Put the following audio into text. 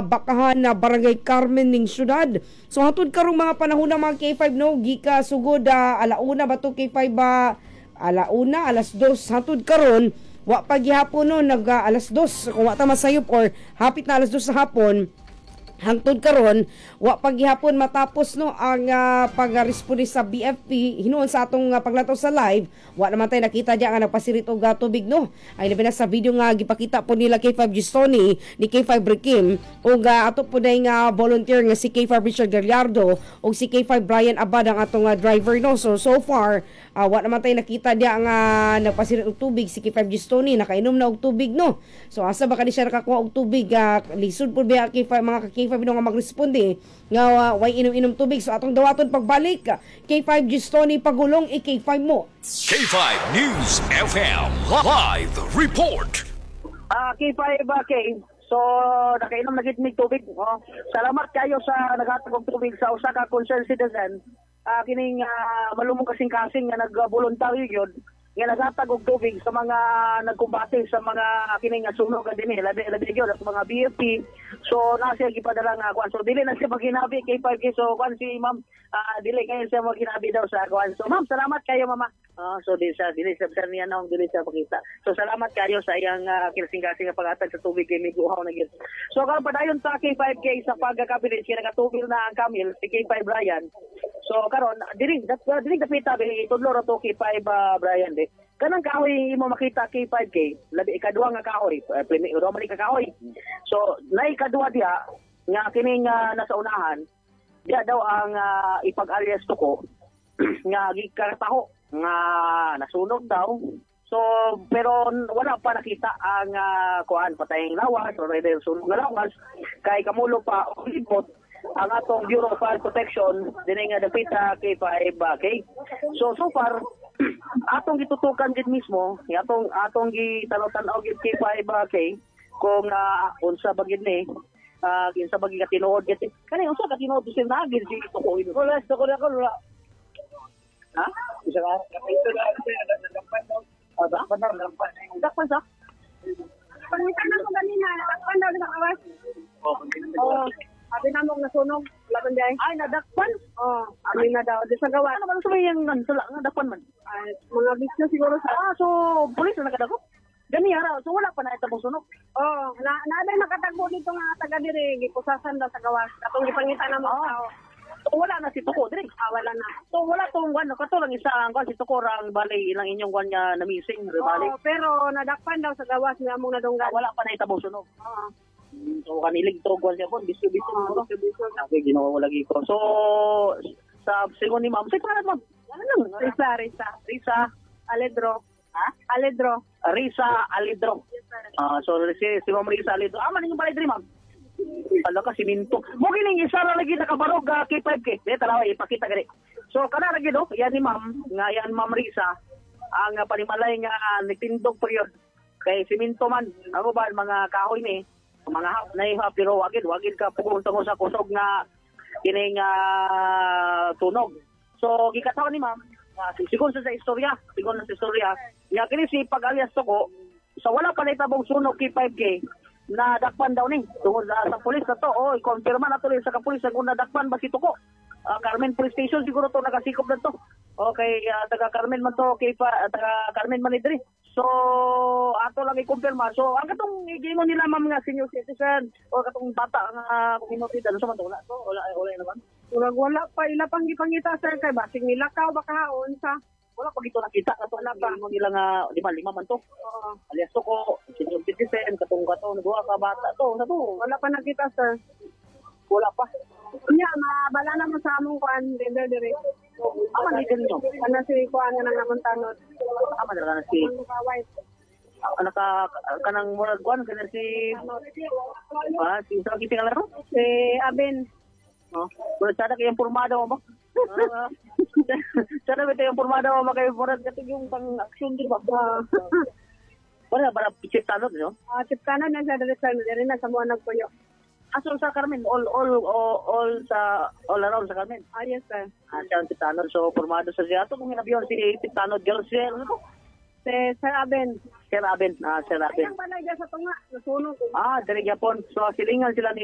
Bakahan na Barangay Carmen ning syudad. So hantod karong mga panahon na, mga K5, no, gika sugod alauna ba to, K5 ba, alauna, 2:00 hantod karon wa pa gihapon, no, nag 2:00 kung wa ta masayop or hapit na 2:00 sa hapon. Hangtod karon wa pa gihapon matapos, no, ang pag-responde sa BFP. Hinuon sa atong paglantaw sa live, wa naman tayo nakita diya nga nagpasirit og tubig, no, ay labi na sa video nga gipakita po nila K5 Gistoni ni K5 Rikim ug ato po day nga volunteer nga si K5 Richard Gallardo ug si K5 Brian Abad, ang atong driver, no. So so far wa naman tayo nakita diya nga nagpasirit og tubig. Si K5 Gistoni nakainom na og tubig, no. So asa ba kani siya nakakuha og tubig? Lisod pud biya, K5, mga ka K5, no, nga magresponde nga way inom-inom tubig. So atong dawaton pagbalik, K5 Gistoni Pagulong, i-K5 mo. K5 News FM Live Report. K5 K. So nakainom na gid mig tubig. Oh. Salamat kayo sa naghatag og tubig sa usa ka concerned citizen. Kining malumong kasing-kasing nga nagboluntaryo gyud nga naghatag og tubig sa mga nagkumbate sa mga kining sunog dinhi, labi labi gyud sa mga BFP. So na siya gipadala nga kuan. So dili na siya maghinabi, K5K. So kuan si ma'am, dili kayo siya maghinabi daw sa kuan. So ma'am, salamat kayo, mama. So di sa dili sa sa niya naong dili siya pakita. So salamat kayo sa iyang kinasing-kasing nga paghatag sa tubig kay miguhaw na gyud. So karon padayon sa K5K sa pagkabilis kay nakatubil na ang Camille si K5 Brian. So karon dili dili dapita itudlo ra to, K5 Brian, di. Kanang kahoy imo makita, K5K, labi ikaduha nga kahoy, Roman ka kahoy. So nay ikaduha diha nga kining nasa unahan, diha daw ang ipag-alias ko nga gikataho nga nasunog daw. So pero wala pa nakita ang kuan, patayng lawas or either sunog nga lawas kay kamulo pa og libot ang atong Bureau of Fire Protection dinhi nga dapita, K5 K. So so far atong gitutukan gid mismo, atong atong gitanaw-tanaw gid, K5 K, kung unsa ba gid ni kinsa ba gid katinuod gid kani, unsa ka tinuod sir na gid si tuko? Wala, sa ko na ako, wala. Ha? Isa ka, ito na, nadakpan daw. Ah, Dakpan daw, dakpan. Dakpan sa Pangitan na ko ganina, nadakpan daw sa kawas. Oh, sabi na mo nasunog, wala man diay. Ay, nadakpan. Oh, amin na daw di sa gawas. Ano man sa may yung sala nga dakpan man? Ay, mga bisyo siguro sa. Ah, so pulis na nakadakop. Gani ara, so wala pa na itabong sunog. Oh, na na nakatagbo dito nga taga diri, gipusasan daw sa gawas. Katong gipangita na mo tao. So wala na si Tuko diri. Ah, wala na. So wala tong kuan, kato lang isa ang kuan si Tuko ra ang balay ilang inyong kuan nga na-missing, bali. Oh, pero nadakpan daw sa gawas nga among nadunggan. Ah, wala pa na itabong sunog. Oo. So kanilig to kuan siya pon, bisyo bisyo. Oh, No? bisyo. Okay, Ginoo lagi ko. So sa sigon ni ma'am, sa pangalan, ma'am? Ano lang? Risa, Risa. Risa, Aledro. Ha? Aledro. Risa Alidro. Yes, sir. Ah, so si Ma'am Risa Alidro. Ah, man yung balay diri, ma'am. Ala ka siminto. Mo gining isa ra lagi nakabarog, K5K. Di tanawa, ipakita gani. So kana lagi do, yan ni ma'am, nga yan Ma'am Risa ang panimalay nga nagtindog period. Kay siminto man, ako ba mga kahoy ni, mga hap na iha, pero wagid wagid ka pugong sa kusog nga kining tunog. So gikataon ni ma'am, sigon sa istorya, sigon sa istorya, nga kini si pag-alias ko sa wala pa naitabong sunog, K5K, na dakpan daw ni tungod sa pulis na to. Oh, i-confirma na tuloy sa kapulis kung nadakpan ba si Tuko. Carmen Police Station siguro to nakasikop na to. Okay, taga Carmen man to, kay pa, taga Carmen man ni diri. So ato lang i-confirma. So ang katong giingon nila, ma'am, nga senior citizen o katong bata nga community, ano sa man to, wala to, wala wala naman. Murag wala pa ila pang gipangita, sir, kay basig nilakaw baka unsa. Wala pa gito nakita kato Wala pa. giingon nila nga lima lima man to. Oo. Alias Tuko, senior citizen, katong katong duha ka bata to, sa to. Wala pa nakita, sir. Wala pa. Nya, mabala na mo sa among kuan leader dire. Ama ni ganyo. Ana si kuan nga nang namong tanod. Ama na si Ang kaway. Naka kanang murag kuan kana si si sa kita nga laro. Si Abin. No. Pero sana kay informado mo ba? Sana ba tayo informado mo ba kay murag katong yung pang action di ba? Wala ba chief tanod, no? Ah, chief tanod na siya dire, sir, dire na sa mga nagpuyo. Aso sa Carmen, all sa all around sa Carmen. Ah, yes, sir. Ah, siya ang chief tanod. So formado sa siya ato kung hinabiyon si chief tanod girl si ano to? Si Sir Abin. Sir Aben, ah, Sir Aben. Ang balay dyan sa tunga, nasunog. Ah, diri gyapon. So silingan sila ni